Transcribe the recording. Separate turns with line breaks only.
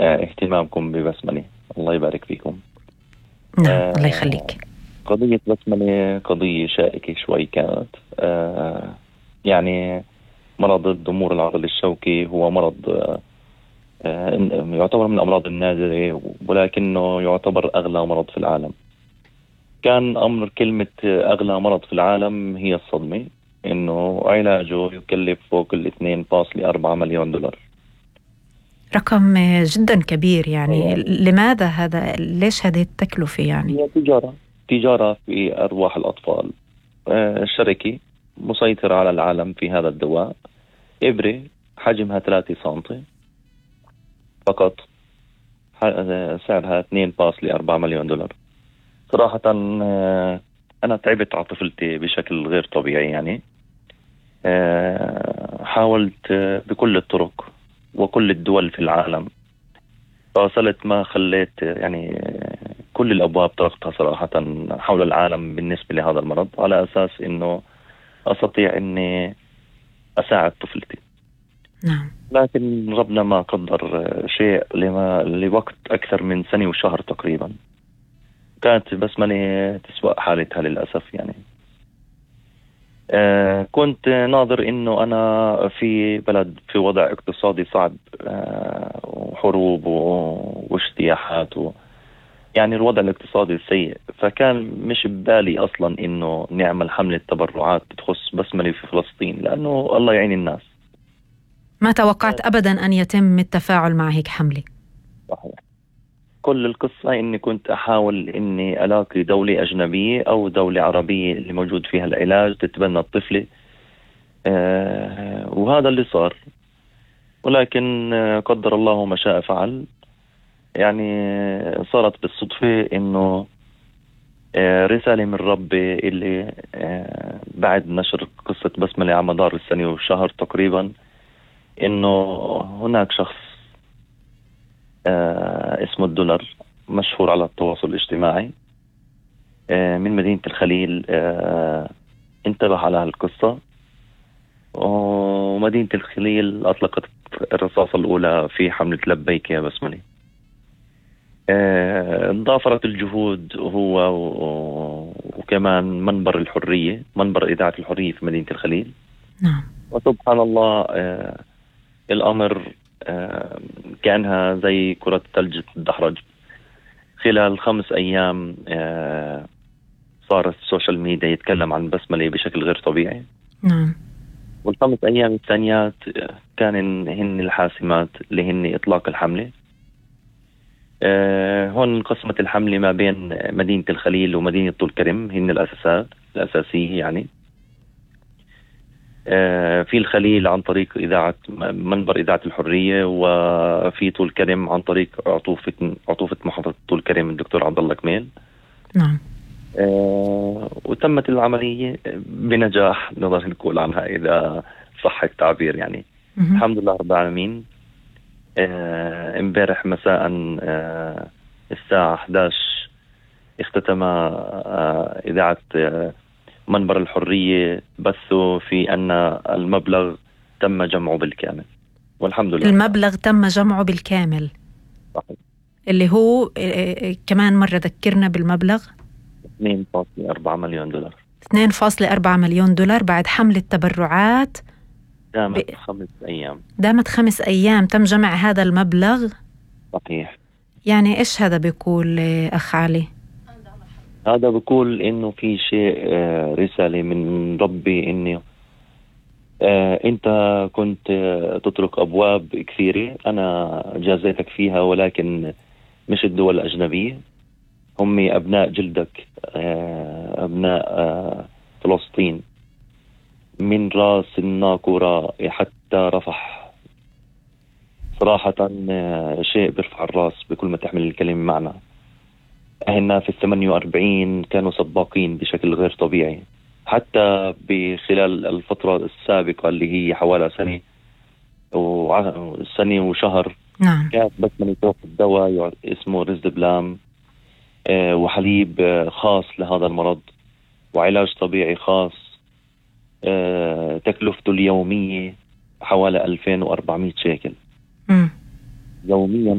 اهتمامكم ببسملة. الله يبارك فيكم.
نعم الله يخليك.
قضية بسملة قضية شائكة شوي كانت. يعني مرض الضمور العضلي الشوكي هو مرض يعتبر من الأمراض النادرة، ولكنه يعتبر أغلى مرض في العالم. كان أمر كلمة أغلى مرض في العالم هي الصدمة، إنه علاجه يكلف فوق 2.4 مليون دولار.
رقم جدا كبير يعني. لماذا هذا؟ ليش هذه التكلفة يعني؟
هي تجارة في أرواح الأطفال. الشركة مسيطرة على العالم في هذا الدواء. إبرة حجمها 3 سنتي فقط، سعرها 2.4 مليون دولار. صراحة أنا تعبت على طفلتي بشكل غير طبيعي يعني. حاولت بكل الطرق وكل الدول في العالم، فوصلت ما خليت يعني كل الأبواب طرقتها صراحة حول العالم بالنسبة لهذا المرض، على أساس إنه أستطيع إني أساعد طفلتي.
نعم.
لكن ربنا ما قدر شيء لوقت أكثر من سنة وشهر تقريبا. كانت بسملة تسوأ حالتها للأسف يعني. كنت ناظر إنه أنا في بلد في وضع اقتصادي صعب، وحروب واجتياحات يعني الوضع الاقتصادي سيء، فكان مش ببالي أصلا إنه نعمل حملة تبرعات تخص بسملة في فلسطين، لأنه الله يعين الناس.
ما توقعت أبدا أن يتم التفاعل مع هيك حملة.
صحيح. كل القصة إني كنت أحاول إني ألاقي دولة أجنبية أو دولة عربية اللي موجود فيها العلاج تتبنى الطفلة. وهذا اللي صار، ولكن قدر الله ما شاء فعل. يعني صارت بالصدفة إنه رسالة من ربي اللي بعد نشر قصة بسملة على مدار السنة وشهر تقريبا، إنه هناك شخص اسمه الدولار، مشهور على التواصل الاجتماعي، من مدينة الخليل، انتبه على هالقصة، ومدينة الخليل أطلقت الرصاصة الأولى في حملة لبيك يا بسملة. ضافرت الجهود هو وكمان منبر الحرية، منبر إذاعة الحرية في مدينة الخليل.
نعم.
وسبحان الله الأمر كأنها زي كرة ثلج تدحرج. خلال 5 أيام صار السوشيال ميديا يتكلم عن بسملة بشكل غير طبيعي.
نعم.
وال5 أيام الثانيات كان هن الحاسمات اللي هن إطلاق الحملة. هون انقسمت الحملة ما بين مدينة الخليل ومدينة طول كرم، هن الأساسية يعني. في الخليل عن طريق منبر إذاعة الحرية، وفي طول كرم عن طريق عطوفة محافظة طول كرم الدكتور عبد الله كميل.
نعم.
وتمت العملية بنجاح، نقدر نقول عنها إذا صح التعبير يعني. الحمد لله رب العالمين. امبارح مساء الساعة 11 اختتم إذاعة منبر الحرية بثوا في أن المبلغ تم جمعه بالكامل، والحمد لله.
المبلغ تم جمعه بالكامل.
صحيح.
اللي هو كمان مرة ذكرنا بالمبلغ.
2.4 مليون دولار.
2.4 مليون دولار بعد حملة تبرعات
دامت 5 أيام.
دامت 5 أيام تم جمع هذا المبلغ.
صحيح.
يعني إيش هذا بيقول أخ علي؟
هذا بيقول إنه في شيء رسالة من ربي، إنه أنت كنت تطرق أبواب كثيرة أنا جازيتك فيها، ولكن مش الدول الأجنبية، هم أبناء جلدك، أبناء فلسطين، من رأس الناقورة حتى رفح. صراحة شيء بيرفع الرأس بكل ما تحمل الكلمة معنى. هنا في 48 كانوا سباقين بشكل غير طبيعي، حتى بخلال الفترة السابقة اللي هي حوالي سنة وشهر.
نعم.
كانت بس من يتوقف دواء اسمه ريزدبلام، وحليب خاص لهذا المرض، وعلاج طبيعي خاص. تكلفته اليومية حوالي 2400 شيكل يوميا.